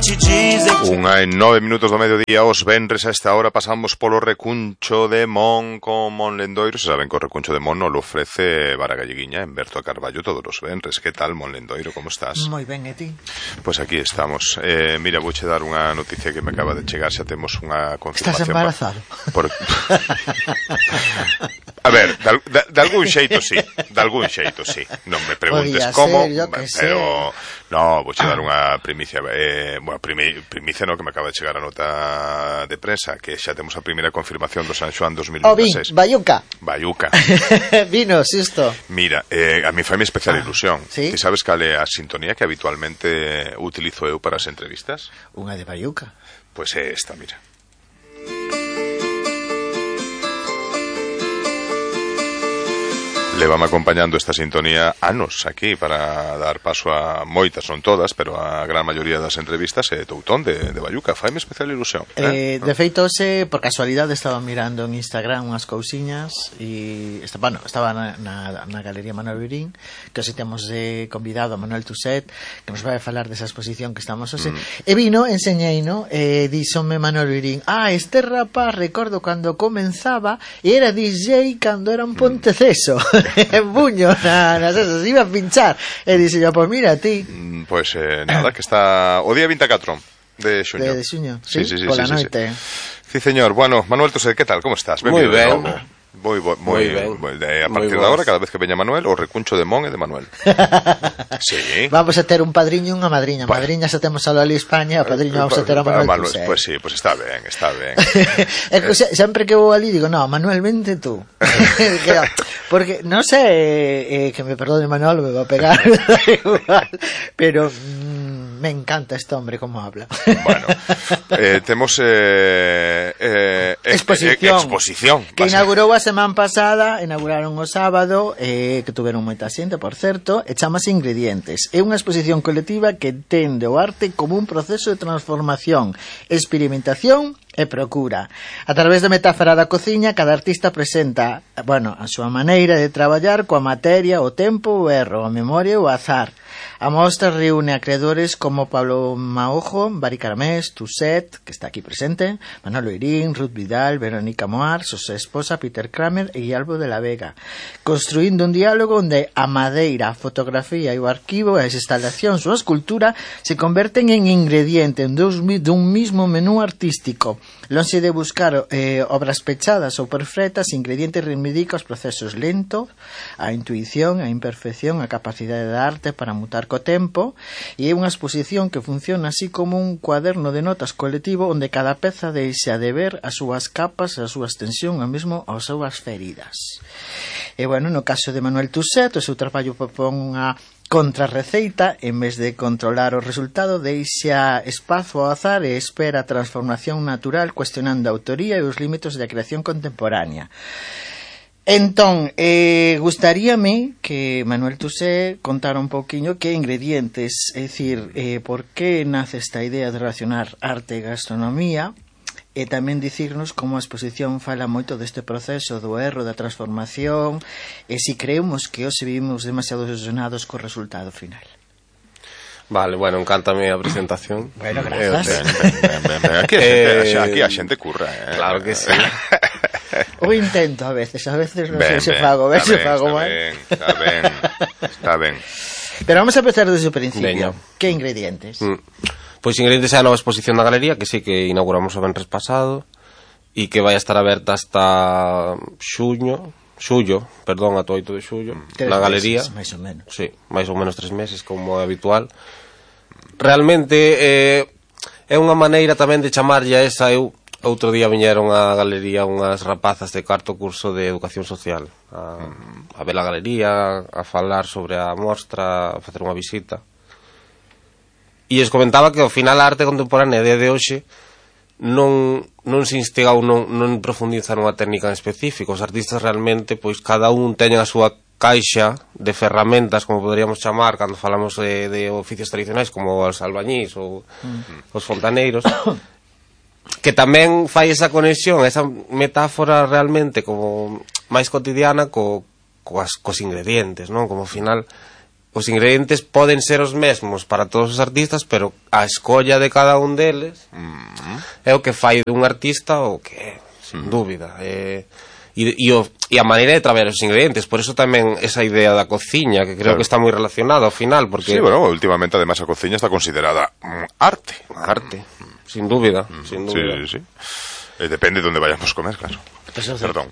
Unha en 9 minutos do mediodía, os venres a esta hora pasamos polo recuncho de Mon con Mon Lendoiro. Se saben que o recuncho de Mon lo ofrece Vara Galleguiña en Berto a Carballo todos os venres. Que tal, Mon Lendoiro, como estás? Moi ben, e ti? Pois aquí estamos. Mira, vouche dar unha noticia que me acaba de chegar. Xa temos unha confirmación. Estás embarazado? A ver, de algún xeito sí. De algún xeito sí. Non me preguntes como, pero no, vouche dar unha primicia. Bueno, primicia no, que me acaba de chegar a nota de prensa, que xa temos a primeira confirmación do San Xoán 2026. Bayuca. Vino, xusto. Mira, a mí faime especial ilusión. ¿sí? Ti sabes cal é a sintonía que habitualmente utilizo eu para as entrevistas? Unha de Bayuca. Pois é esta, mira. Lévame acompañando esta sintonía anos aquí para dar paso a moitas, non todas, pero a gran maioría das entrevistas é Toutón de Bayuca. Faime especial ilusión. De feito, por casualidade estaba mirando en Instagram unhas cousiñas e estaba na Galería Manuel Virín, que hoxe temos convidado a Manuel Tuset, que nos vai a falar desa exposición que estamos hoxe. E vino, enseñeino, díxome Manuel Virín: este rapaz recordo cando comenzaba e era DJ cando era un Ponteceso. En buño nas esas, iba a pinchar e dixe yo, pois mira ti. Pois nada, que está o día 24 de xuño. De xuño, sí, pola noite. Sí, señor. Bueno, Manuel Tuset, que tal? Como estás? Moi ben. Moi ben. A partir de agora, cada vez que veña Manuel, o recuncho de Mon e de Manuel. Sí. Vamos a ter un padriño e unha madriña. Madriña xa temos a Loli España, o padriño vamos a ter a Manuel Tuset. Pois sí, pois está ben. Sempre que vou ali digo, no, Manuel, vente tú. Porque, non sei, que me perdone Manuel, me va a pegar, pero me encanta este hombre como habla. Bueno, temos exposición que inaugurou a semana pasada, inauguraron o sábado, que tuveron moita xente, por certo, e chamase Ingredientes. É unha exposición colectiva que entende o arte como un proceso de transformación, experimentación e procura. A través da metáfora da cociña, cada artista presenta, a súa maneira de traballar coa materia, o tempo, o erro, a memoria e o azar. A mostra reúne a creadores como Pablo Maojo, Bari Caramés, Tuset, que está aquí presente, Manolo Irín, Ruth Vidal, Verónica Moar, su esposa Peter Kramer e Albo de la Vega, construindo un diálogo onde a madeira, a fotografía e o arquivo, as instalacións ou a escultura se converten en ingrediente dun mismo menú artístico. Lonxe de buscar obras pechadas ou perfectas, ingredientes reivindica os procesos lentos, a intuición, a imperfección, a capacidade da arte para mutar co tempo, e é unha exposición que funciona así como un cuaderno de notas colectivo onde cada peza deixa de ver as súas capas, a súa extensión, e mesmo as súas feridas. E no caso de Manuel Tuset, o seu traballo propón unha contrarreceita, en vez de controlar o resultado, deixa espazo ao azar e espera a transformación natural, cuestionando a autoría e os límites da creación contemporánea. Entón, gustaríame que Manuel Tuset contara un pouquiño que Ingredientes, é dicir, por que nace esta idea de relacionar arte e gastronomía, e tamén dicirnos como a exposición fala moito deste proceso do erro, da transformación, e si creemos que hoxe vivimos demasiado ilusionados co resultado final. Vale, encántame a presentación. Grazas. Aquí a xente curra. Claro que sí. O intento a veces non sei se fago, mal. Está ben. Pero vamos a empezar desde o principio. Que Ingredientes? Pois Ingredientes é a nova exposición da galería, que sí que inauguramos o venres pasado e que vai a estar aberta hasta xullo, ata o 8 de xullo, na galería. Máis ou menos. Sí, máis ou menos 3 meses, como é habitual. Realmente é unha maneira tamén de chamarlle a esa. Outro día viñeron á galería unhas rapazas de cuarto curso de Educación Social a ver a galería, a falar sobre a mostra, a facer unha visita. E es comentaba que ao final a arte contemporánea de hoxe non se instigou, non profundiza nunha técnica en específico. Os artistas realmente, pois cada un teñen a súa caixa de ferramentas, como poderíamos chamar cando falamos de oficios tradicionais como os albañís ou os fontaneiros, que tamén fai esa conexión, esa metáfora realmente como máis cotidiana cos ingredientes, non? Como ao final os ingredientes poden ser os mesmos para todos os artistas, pero a escolla de cada un deles é o que fai dun artista o que é, sin dúbida. E a maneira de traballar os ingredientes, por eso tamén esa idea da cociña, que creo que está moi relacionada ao final, porque... Sí, bueno, últimamente además a cociña está considerada arte. Arte, sin dúbida, sin dúbida. Sí. Depende de onde vayamos comer, claro. Perdón.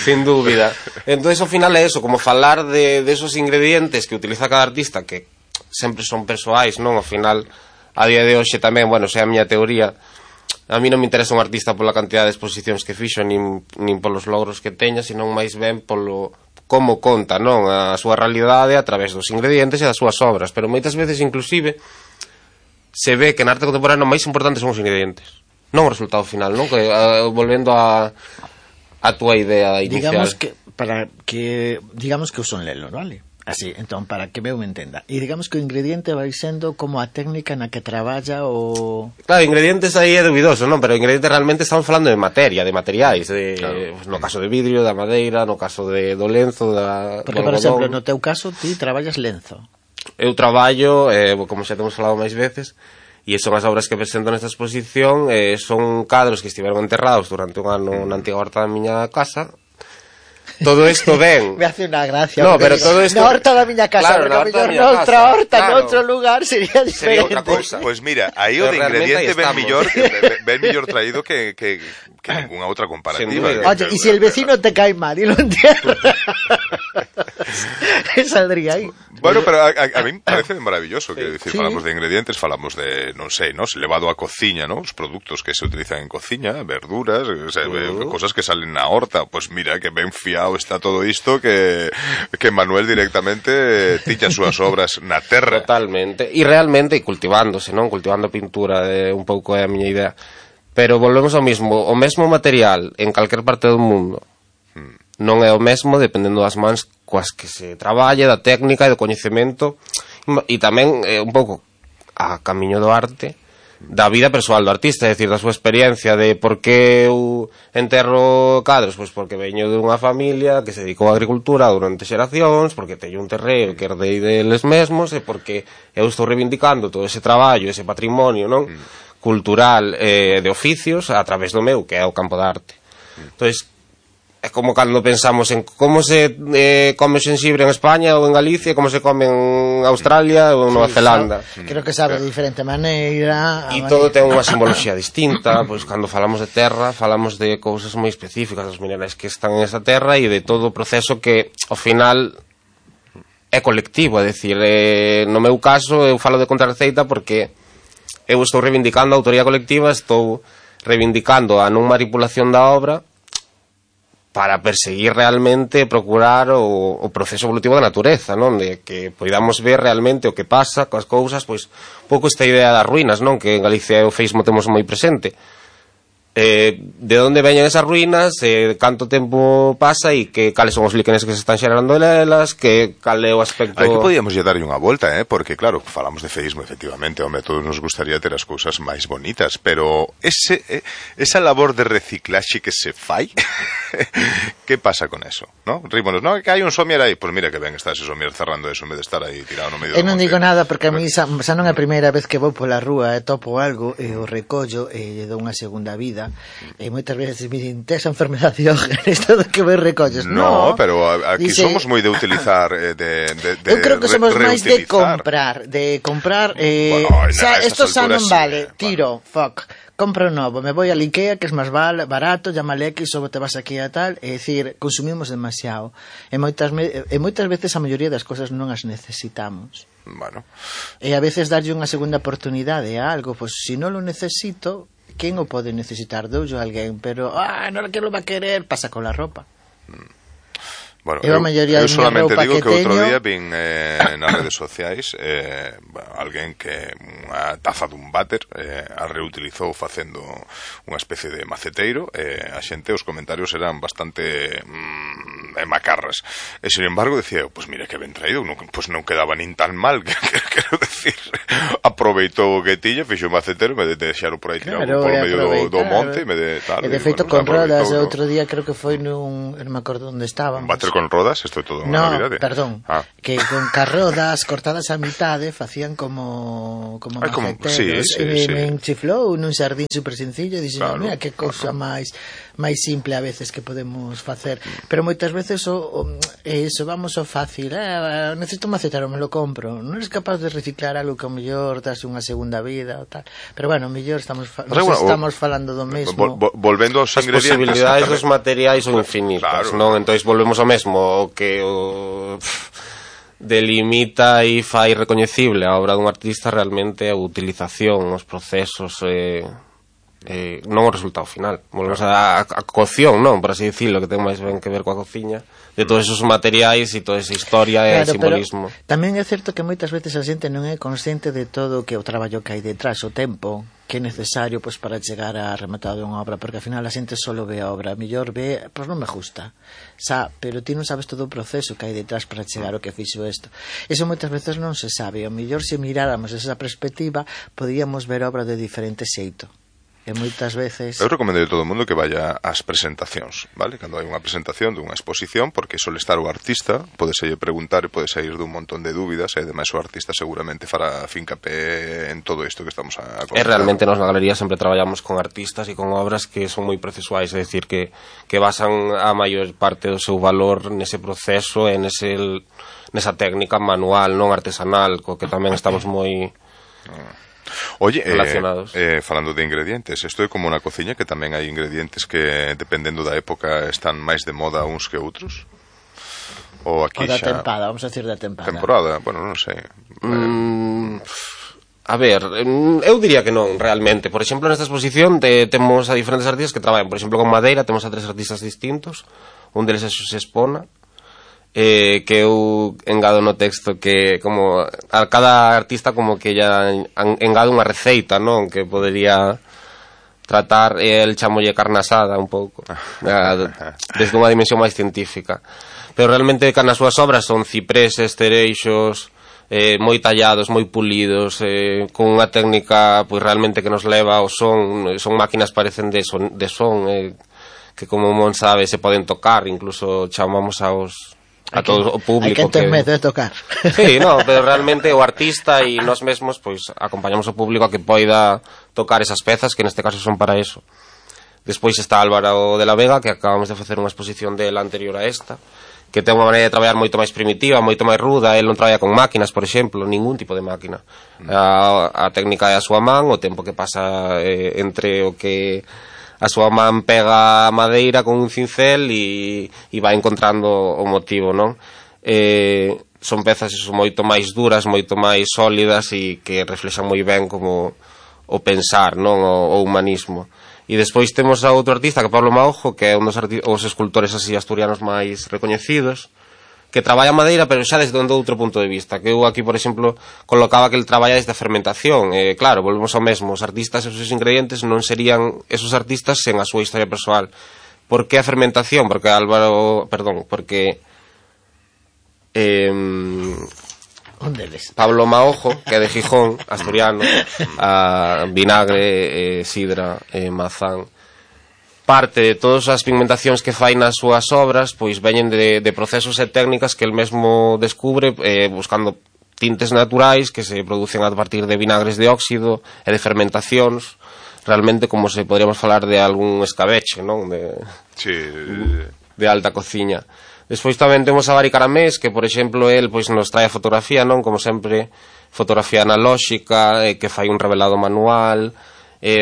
Sin dúbida. Entonces, ao final é eso, como falar de esos ingredientes que utiliza cada artista, que sempre son persoais, non? Ao final, a día de hoxe tamén, bueno, xa a miña teoría, a mí non me interesa un artista pola cantidad de exposicións que fixo, nin polos logros que teña, senón máis ben polo como conta, non? A súa realidade a través dos ingredientes e das súas obras. Pero moitas veces, inclusive, se ve que na arte contemporánea o máis importante son os ingredientes, non o resultado final, non? Que, volvendo a túa idea inicial. Digamos que uso un lelo, vale? Así, entón, para que eu me entenda. E digamos que o ingrediente vai sendo como a técnica na que traballa o... Claro, ingredientes aí é dubidoso, non? Pero ingredientes realmente estamos falando de materia, de materiais, claro. No caso de vidrio, da madeira, no caso do lenzo, Porque, por exemplo, no teu caso, ti traballas lenzo. Eu traballo, como xa temos falado máis veces, e son as obras que presento nesta exposición, son cadros que estiveron enterrados durante un ano na antiga horta da miña casa. Todo isto ven... Me hace unha gracia. No, pero todo isto... Na horta da miña casa, claro, porque a mellor noutra horta, noutro lugar, sería diferente. Sería outra cousa. Pois mira, aí o de ingrediente ven millor traído que ninguna outra comparativa. Oye, e se el vecino te cae mal e lo entierra, saldría aí. Bueno, pero a mí me parece maravilloso, que decir, sí. Falamos de ingredientes, falamos de, non sei, ¿no? Levado a cociña, ¿no? Os produtos que se utilizan en cociña, verduras, cosas que salen na horta, pues mira, que ben fiado está todo isto, que Manuel directamente tiña as súas obras na terra. Totalmente, e realmente cultivándose, non? Cultivando pintura, un pouco é a miña idea. Pero volvemos ao mesmo, o mesmo material en calquer parte do mundo non é o mesmo dependendo das mans coas que se traballa, da técnica e do coñecemento, e tamén un pouco a camiño do arte, da vida persoal do artista, é dicir, da súa experiencia de por que eu enterro cadros, pois porque veño dunha familia que se dedicou á agricultura durante xeracións, porque teño un terreo que herdei deles mesmos, e porque eu estou reivindicando todo ese traballo, ese patrimonio, non? Cultural de oficios a través do meu, que é o campo da arte. Entonces, é como cando pensamos en como se come o xenxibre en España ou en Galicia, como se come en Australia ou en Nova Zelanda. Creo que sabe de diferente maneira. E todo ten unha simboloxía distinta, pois cando falamos de terra, falamos de cousas moi específicas, dos minerais que están en esa terra e de todo o proceso que, ao final, é colectivo, é dicir, no meu caso, eu falo de contrarreceita porque eu estou reivindicando a autoría colectiva, estou reivindicando a non manipulación da obra para perseguir realmente, procurar o proceso evolutivo da natureza, non? De que poidamos ver realmente o que pasa coas cousas, pois, pouco esta idea das ruínas, non? Que en Galicia e o feísmo temos moi presente. De onde veñen esas ruínas, canto tempo pasa e cales son os líquenes que se están xerando elas, cal é o aspecto... Aí que podíamos lle darlle unha volta, porque claro, falamos de feísmo, efectivamente, home, todos nos gustaría ter as cousas máis bonitas, pero esa labor de reciclaxe que se fai, que pasa con eso, ¿no? Rímonos, no, que hai un somier aí, pois mira que ben está ese somier cerrando eso, en vez de estar aí tirado no medio do monte. Eu non digo nada, porque a mí xa non é a primeira vez que vou pola rúa e topo algo, e o recollo, e lle dou unha segunda vida. E moitas veces me din, tes a enfermedad de Diógenes, todo que me recolles. No, pero aquí somos moi de utilizar, eu creo que somos máis de comprar, bueno, esto xa non vale, tiro, compro novo, me voy al Ikea, que es máis barato, llámale X, ou te vas aquí a tal, é dicir, consumimos demasiado, e moitas veces a maioría das cosas non as necesitamos. Bueno. E a veces darlle unha segunda oportunidade a algo, pois se non lo necesito, quen o pode necesitar? Doulle a alguén, pero non que lo va a querer, pasa con la ropa. Bueno, eu solamente digo que outro día vin nas redes sociais alguén que unha taza dun váter a reutilizou facendo unha especie de maceteiro, a xente, os comentarios eran bastante macarras. E, sin embargo, decía, pues mira que ben traído, pues non quedaba nin tan mal, quero decir, aproveitou o que tiña, fixo un macetero, me de deixaron por aí tirado por medio do monte, me de tal. E de feito con rodas, outro día creo que foi non me acordo onde estábamos. Un bater con rodas, isto é todo unha novidade. Perdón, que con carrodas cortadas a mitade facían como maceteros. Me enchiflou nun xardín super sencillo e dixen, mira, que cousa máis simple a veces que podemos facer, pero moitas veces eso vamos ao fácil, necesito un macetero, me lo compro, non eres capaz de reciclar algo que ao mellor das unha segunda vida ou tal, pero bueno, ao mellor estamos falando do mesmo. Volvendo aos ingredientes, as posibilidades dos materiais son infinitas, non? Entonces volvemos ao mesmo, o que delimita e fai recoñecible a obra dun artista realmente a utilización, os procesos, non o resultado final. Volvemos a cocción, non? Por así dicirlo, que ten máis ben que ver coa cociña, de todos esos materiais e toda esa historia e simbolismo. Tamén é certo que moitas veces a xente non é consciente de todo que o traballo que hai detrás, o tempo que é necesario para chegar a rematar unha obra, porque ao final a xente só ve a obra, a mellor ve, pois non me gusta, pero ti non sabes todo o proceso que hai detrás para chegar ao que fixo isto. Eso moitas veces non se sabe, ao mellor se miráramos esa perspectiva podíamos ver a obra de diferente xeito. E moitas veces... Eu recomendo a todo o mundo que vaya ás presentacións, vale? Cando hai unha presentación dunha exposición, porque sole estar o artista, podese preguntar e pode sair dun montón de dúbidas, e ademais o artista seguramente fará fincapé en todo isto que estamos a comentar. E realmente nos na galería sempre traballamos con artistas e con obras que son moi procesuais, é dicir, que basan a maior parte do seu valor nese proceso e nesa técnica manual, non artesanal, co que tamén estamos moi... Oye, falando de ingredientes, isto é como na cociña, que tamén hai ingredientes que dependendo da época están máis de moda uns que outros? Ou aquí da tempada, vamos a decir da tempada. Temporada, bueno, non sei. A ver, eu diría que non, realmente. Por exemplo, nesta exposición temos a diferentes artistas que traballan, por exemplo, con madeira, temos a 3 artistas distintos, un deles é Xosé Espona, que eu engado no texto que como a cada artista como que ya engado unha receita, non? Que podería tratar, el chamolle carne asada un pouco, desde unha dimensión máis científica. Pero realmente nas súas obras son cipreses, cereixos, moi tallados, moi pulidos, con unha técnica pois realmente que nos leva ao son máquinas parecen de son, que como Mon sabe se poden tocar, incluso chamamos a todo o público. Hai que ter medo de tocar. Sí, no, pero realmente o artista e nós mesmos pois acompañamos o público a que poida tocar esas pezas que neste caso son para eso. Despois está Álvaro de la Vega, que acabamos de facer unha exposición dela anterior a esta, que ten unha maneira de traballar moito máis primitiva, moito máis ruda. El non traballa con máquinas, por exemplo, ningún tipo de máquina. A técnica é a súa man, o tempo que pasa entre o que a súa man pega a madeira con un cincel e vai encontrando o motivo, non? Son pezas moito máis duras, moito máis sólidas e que reflexan moi ben como o pensar, non? O humanismo. E despois temos a outro artista, que é Pablo Maojo, que é un dos escultores así asturianos máis recoñecidos, que traballa a madeira, pero xa desde outro punto de vista. Que eu aquí, por exemplo, colocaba que el traballa desde a fermentación. Claro, volvemos ao mesmo. Os artistas e os seus ingredientes non serían esos artistas sen a súa historia persoal. Por que a fermentación? Porque Pablo Maojo, que é de Gijón, asturiano, a vinagre, sidra, mazán, parte de todas as pigmentacións que fai nas súas obras pois veñen de procesos e técnicas que el mesmo descubre buscando tintes naturais que se producen a partir de vinagres de óxido e de fermentacións, realmente como se podríamos falar de algún escabeche, non? De alta cociña. Despois tamén temos a Bari Caramés, que por exemplo el pois nos trae a fotografía, non? Como sempre, fotografía analóxica, que fai un revelado manual,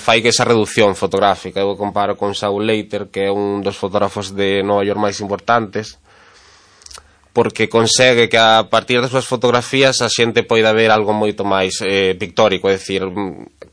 fai que esa reducción fotográfica. Eu comparo con Saul Leiter, que é un dos fotógrafos de Nova York máis importantes, porque consegue que a partir das súas fotografías a xente poida ver algo moito máis pictórico, é dicir,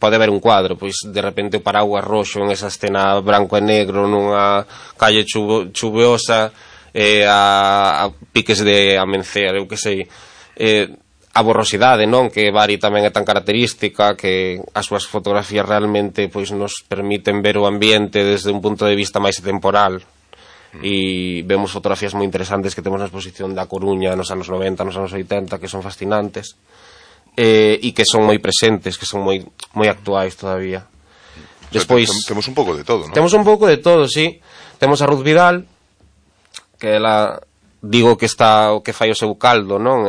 pode ver un cuadro, pois de repente o paraguas roxo en esa escena branco e negro nunha calle chuviosa, a piques de amencer, eu que sei, a borrosidade, non? Que Bari tamén é tan característica, que as súas fotografías realmente pois nos permiten ver o ambiente desde un punto de vista máis temporal, e vemos fotografías moi interesantes que temos na exposición da Coruña nos anos 90, nos anos 80, que son fascinantes e que son moi presentes, que son moi actuais todavía. Despois temos un pouco de todo, non? Temos un pouco de todo, sí. Temos a Ruth Vidal, que ela digo que está o que fai o seu caldo, non?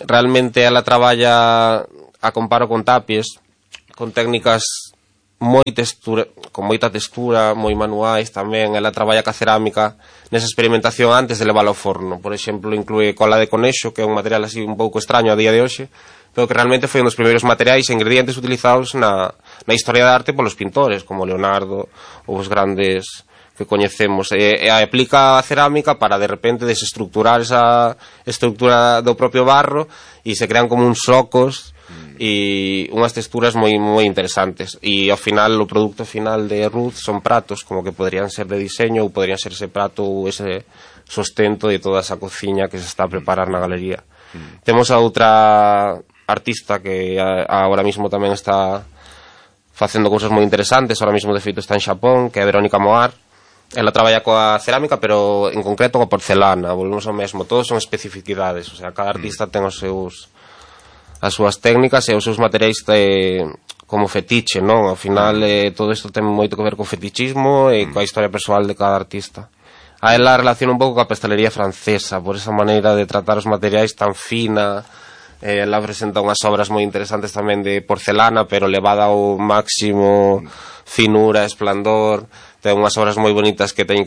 Realmente ela traballa, a comparo con Tapies, con técnicas con moita textura, moi manuais tamén. Ela traballa ca cerámica nesa experimentación antes de leválo ao forno. Por exemplo, inclúe cola de conexo, que é un material así un pouco extraño a día de hoxe, pero que realmente foi un dos primeiros materiais e ingredientes utilizados na historia da arte polos pintores, como Leonardo ou os grandes que coñecemos. E aplica a cerámica para de repente desestructurar esa estructura do propio barro e se crean como uns socos e unhas texturas moi interesantes. E ao final, o produto final de Ruth son pratos como que podrían ser de diseño ou podrían ser ese prato ou ese sostento de toda esa cociña que se está a preparar na galería. Temos a outra artista que agora mismo tamén está facendo cousas moi interesantes, agora mismo de feito está en Xapón, que é Verónica Moar. Ela traballa coa cerámica, pero en concreto coa porcelana. Volvemos ao mesmo, todos son especificidades, o sea, cada artista ten as súas técnicas e os seus materiais como fetiche, non? Ao final todo isto ten moito que ver co fetichismo e coa historia persoal de cada artista. A ela relaciona un pouco coa pastelería francesa, por esa maneira de tratar os materiais tan fina. Ela presenta unhas obras moi interesantes tamén de porcelana, pero levada ao máximo finura, esplandor. Ten unhas obras moi bonitas que teñen